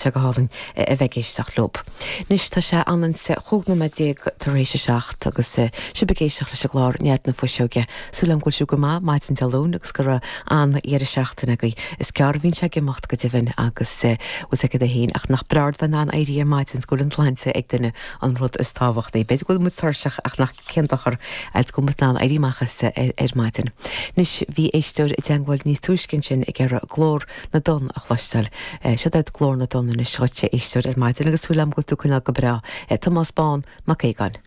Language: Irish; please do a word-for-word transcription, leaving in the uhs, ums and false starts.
Sé go hálainn a bheith ag éisteacht leo. Anois tá sé anonn chúig nóiméad déag tar éis a seacht agus sibh ag éisteacht leis an gclár Nead na Fuiseoige. Súil agam go bhfuil sibh go maith maidin Dé Luain agus go raibh an-dheireadh seachtaine agaibh. Is gearr a bhíonn sé ag imeacht go deimhin agus bhfuil aige féin ach nach breá bheith in ann éirí ar maidin go bhfuil an tsláinte ag duine an rud is tábhachtaí. B'fhéidir go bhfuil muid tuirseach ach nach cén dochar go bhfuil muid in ann éirí amach as ar, ar maidin. Anois bhí éisteoir i dteagmháil níos túisce ansin ag iarraidh glór na dtonn a chloisteáil. Seo duit glór na dtonn anois a éisteoir ar maidin agus súil agam go tú coinneáil go breá. Tomás Bán Mac Aogáin.